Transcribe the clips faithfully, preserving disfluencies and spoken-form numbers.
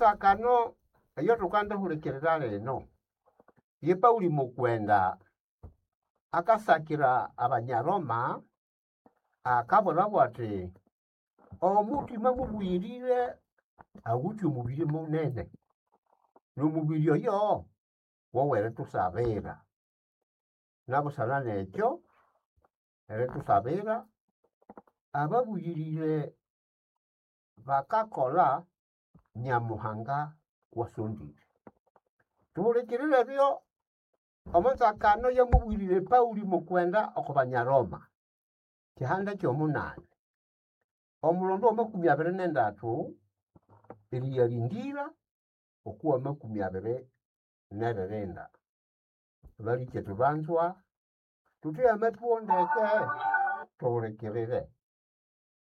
Omo nzakano eyo thukandihulikirira lino, ye Pauli mukwenda akasakira Abanyaroma akabwirabo athi omuthima mubuyirire awithe omubiri munene, n'omubiri oyo wowerithusabira. Nabusana nekyo, erithusabira, ababuyirire bakakolha Nyamuhanga kwasondire. Thuhulikirire ebyo omo nzakano eyamubwirire Pauli mukwenda oko Banyaroma, kihanda ky'omunani, omulondo w'amakumi abiri n'endathu eriyalindira okwa makumi abiri n'eririnda. Balikyetu banzwa, thutheghe amathuwo ndeke thuhulikirire.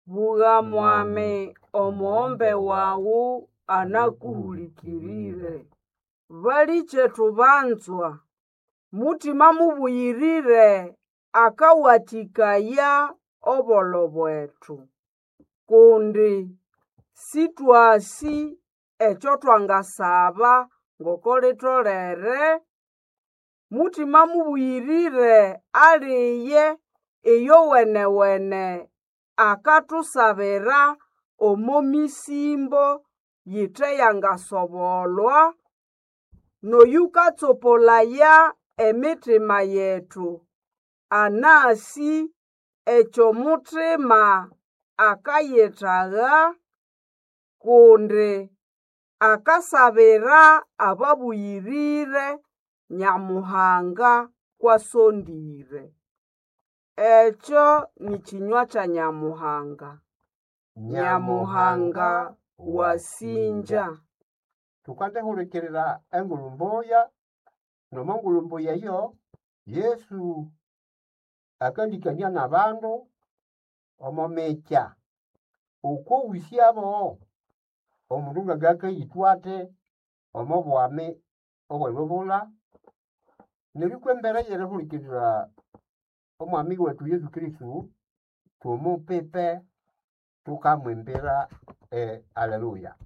Bugha mwami omughombe wawu anakuhulikirire. Balikyetu banzwa, Mutima Mubuyirire akawathikaya obolho bwethu kundi sithwasi ekyo thwangasaba ngoko litolere. Mutima Mubuyirire aliye iyowenewene akathusabira omo misimbo yithe yangasobolwa n'oyukatsopolaya emitima yethu anasi ekyomuthima akayithagha kundi akasabira ababuyirire Nyamuhanga kwasondire. Ekyo ni kinywa kya Nyamuhanga. Nyamuhanga wasinja. Thukandihulikirira engulhu mbuya, nomo ngulhu mbuya eyo, Yesu akandikania n'abandu omo mikya okwowisyabo omundu ngangakayithwa athi omo bwami obw'elubula. Neryo kw'embere y'erihulikirira omwami wethu Yesu Kristo, thumupipe thukamwimbira e Aleluya.